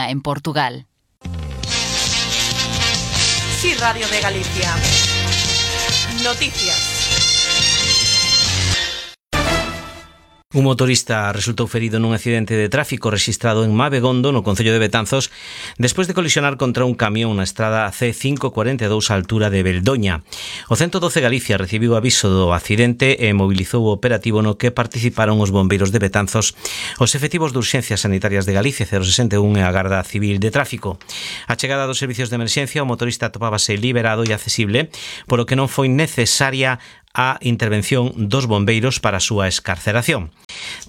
unha en Portugal. Sí, Radio de Galicia. Noticias. Un motorista resultou ferido nun accidente de tráfico rexistrado en Mabegondo, no concello de Betanzos, despois de colisionar contra un camión na estrada C542 á altura de Beldoña. O 112 Galicia recibiu aviso do accidente e mobilizou o operativo no que participaron os bombeiros de Betanzos, os efectivos de urxencias sanitarias de Galicia 061 e a Garda Civil de Tráfico. A chegada dos servicios de emerxencia, o motorista atopábase liberado e accesible, polo que non foi necesaria a intervención dos bombeiros para a súa escarceración.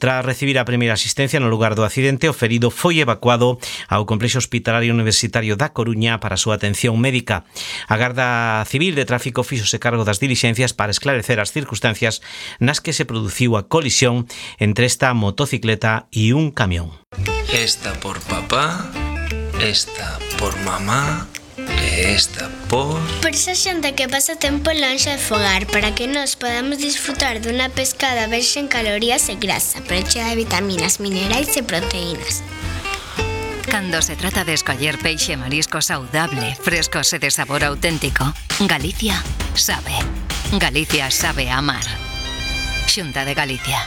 Tras recibir a primeira asistencia no lugar do accidente, o ferido foi evacuado ao Complexo Hospitalario Universitario da Coruña para a súa atención médica. A Garda Civil de Tráfico fíxose cargo das dilixencias para esclarecer as circunstancias nas que se produciu a colisión entre esta motocicleta e un camión. Esta por papá, esta por mamá, esta por esa xente que pasa tempo lonxe de fogar, para que nós podamos disfrutar dunha pescada verxe en calorías e grasa, pero chea de vitaminas, minerais e proteínas. Cando se trata de escoller peixe e marisco saudable, frescos e de sabor auténtico, Galicia sabe. Galicia sabe amar. Xunta de Galicia.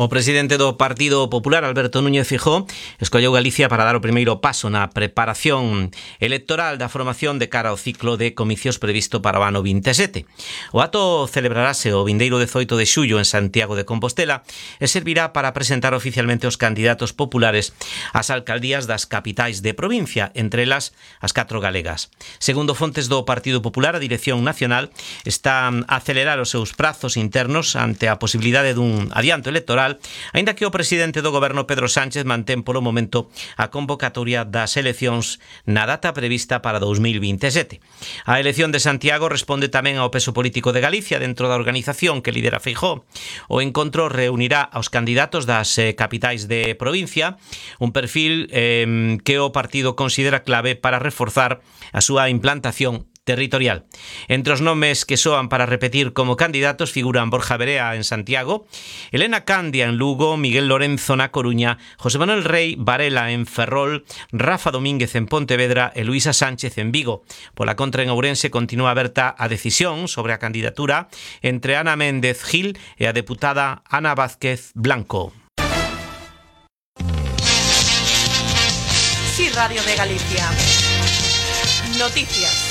O presidente do Partido Popular, Alberto Núñez Feijóo, escolleu Galicia para dar o primeiro paso na preparación electoral da formación de cara ao ciclo de comicios previsto para o ano 27. O acto celebrarase o vindeiro 18 de xullo en Santiago de Compostela e servirá para presentar oficialmente os candidatos populares ás alcaldías das capitais de provincia, entre elas as 4 galegas. Segundo fontes do Partido Popular, a Dirección Nacional está a acelerar os seus prazos internos ante a posibilidade dun adianto electoral, aínda que o presidente do goberno Pedro Sánchez mantén polo momento a convocatoria das eleccións na data prevista para 2027. A elección de Santiago responde tamén ao peso político de Galicia dentro da organización que lidera Feijóo. O encontro reunirá aos candidatos das capitais de provincia, un perfil que o partido considera clave para reforzar a súa implantación territorial. Entre os nomes que soan para repetir como candidatos figuran Borja Verea en Santiago, Elena Candia en Lugo, Miguel Lorenzo na Coruña, José Manuel Rey Varela en Ferrol, Rafa Domínguez en Pontevedra e Luisa Sánchez en Vigo. Pola contra, en Ourense continúa aberta a decisión sobre a candidatura entre Ana Méndez Gil e a deputada Ana Vázquez Blanco. Sí, Radio de Galicia. Noticias.